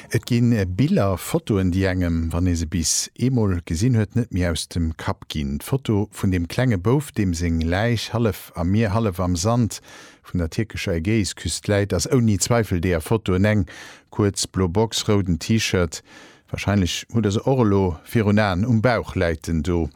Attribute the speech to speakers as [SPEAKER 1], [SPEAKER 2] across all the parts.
[SPEAKER 1] Et gi Biller, Fotoen, déi engem, wann ee se bis eemol gesinn huet, net méi aus dem Kapp ginn. D'Foto vun deem klenge Bouf, deem seng Läich hallef am Mier, hallef am Sand vun der tierkescher Ägäisküst läit, ass ouni Zweifel deeër Fotoen eng. Kuerz blo Box, rouden T-Shirt, Wahrscheinlech hutt der se och elo virun Aen, um Bauch läit en do.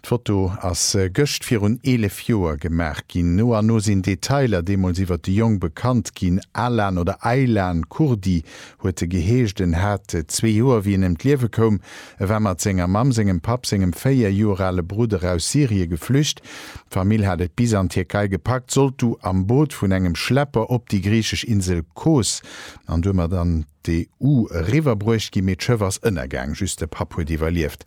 [SPEAKER 1] D'Foto ass gëscht virun 11 Joer gemaach ginn. No an no sinn Detailer deemools iwwer de Jong bekannt ginn. Alan oder Aylan Kurdi huet e geheescht. En hat zwee Joer, wéi en ëm d'Liewe koum. E war mat senger Mamm, sengem Papp, sengem 4 Joer ale Brudder aus Syrie geflücht. D'Famill hat et bis an d'Tierkei gepackt, sollt du am Boot vun engem Schlepper op déi griichesch Insel Kos an domat an d'EU eriwwer bruecht ginn, mee d'Schëff ass ënnergaang, just de Papp huet iwwerlieft.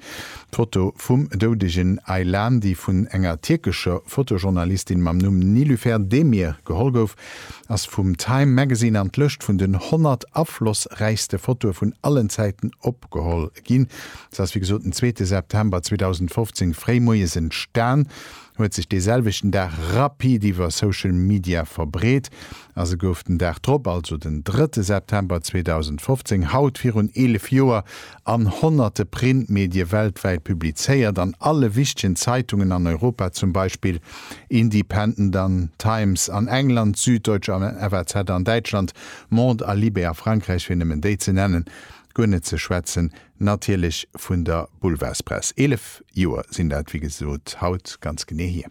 [SPEAKER 1] D'Foto vum doudegen Aylan, déi vun enger tierkescher Fotojournalistin mam Numm Nilüfer Demir geholl gouf, ass vum Time Magazine an d'Lëscht vun den 100 aflossräichste Fotoe vun allen Zäiten opgeholl ginn. Se ass wéi gesot den zweete September 2015 fréi moies entstan, huet sech dee selwechten Dag rapid iwwer Social Media verbreet a se gouf den Dag drop, also den drëtte September 2015, haut virun 11 Joer, an honnerte Printmedie weltwäit publizéiert, an alle wichtegen Zeitungen an Europa, zum Beispill Independent an Times an England, Süddeutsche an FAZ an Däitschland, Monde a Libé a Frankräich, fir nëmmen déi ze nennen, guer net ze schwätzen natierlech vun der Boulevardspress. 11 Joer sinn dat, wéi gesot, haut ganz genee hier.